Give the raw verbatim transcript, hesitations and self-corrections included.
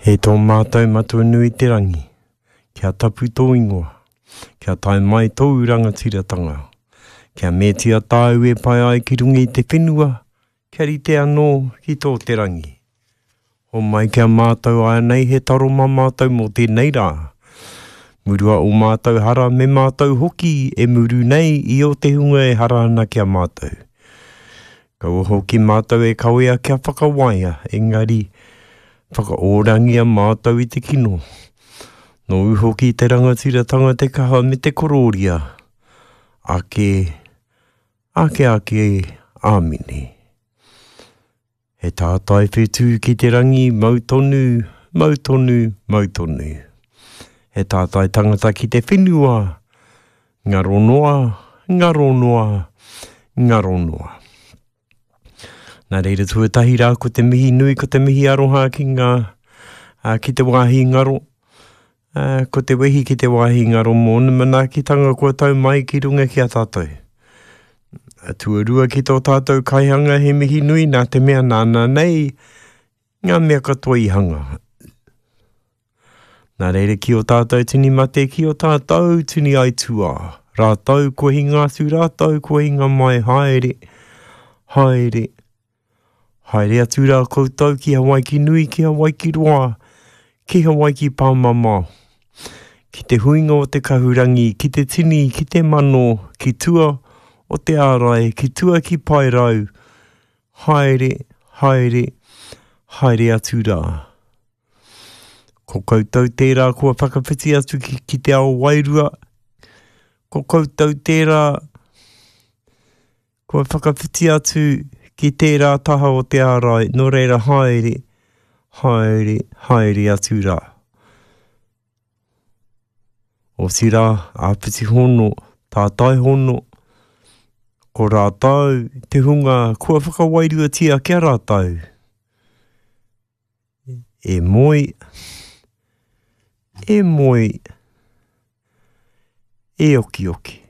E tō mātou Matua nui te rangi, kia tapu tō ingoa, kia tae mai tōu rangatiratanga, kia metia tāu e pai ai ki runga i te whenua, kia rite anō ki tō te rangi. O mai kia mātou ai nei he taro mā mātou mō tēnei rā. Murua o mātou hara me mātou hoki e muru nei i o te hunga e hara ana kia mātou. Kaua hoki mātou e kawea kia whakawaia, engari whakaorangia mātou i te kino. Nō hoki te rangatiratanga te kaha me te kororia. Ake, ake ake, āmine. He tātai whetū ki te rangi, mau tonu, mau tonu, mau tonu. He tātai tangata ki te whenua, ngaro noa, ngaro noa, ngaro noa. Nā reira tuatahi rā ko te mihi nui, ko te mihi aroha ki ngā, uh, ki te wāhi ngaro. Uh, ko te wehi ki te wāhi ngaro mō manaakitanga kua tau mai ki runga ki a tātou. Tuarua ki tō tātou kaihanga he mihi nui nā te mea nāna nei ngā mea katoa i hanga. Nā reira ki o tātou tini mate, ki o tātou tini aituā. Rātou kua hinga atu, rātou kua hinga mai, haere, haere. Haere atu rā koutou ki Hawaiki nui, ki Hawaiki roa, ki Hawaiki pāmamao. Ki te huinga o te kahurangi, ki te tini, ki te mano, ki tua o te ārai, ki tua ki paerau. Haere, haere, haere atu rā. Ko koutou tērā kua whakawhiti atu ki, ki te ao wairua. Ko koutou tērā kua whakawhiti atu ki tērā taha o te ārai, nō reira haere, haere, haere atu rā. Otirā, āpiti hono, tātai hono, ko rātou te hunga kua whakawairuatia kia rātou. E moe, e moe, e okioki.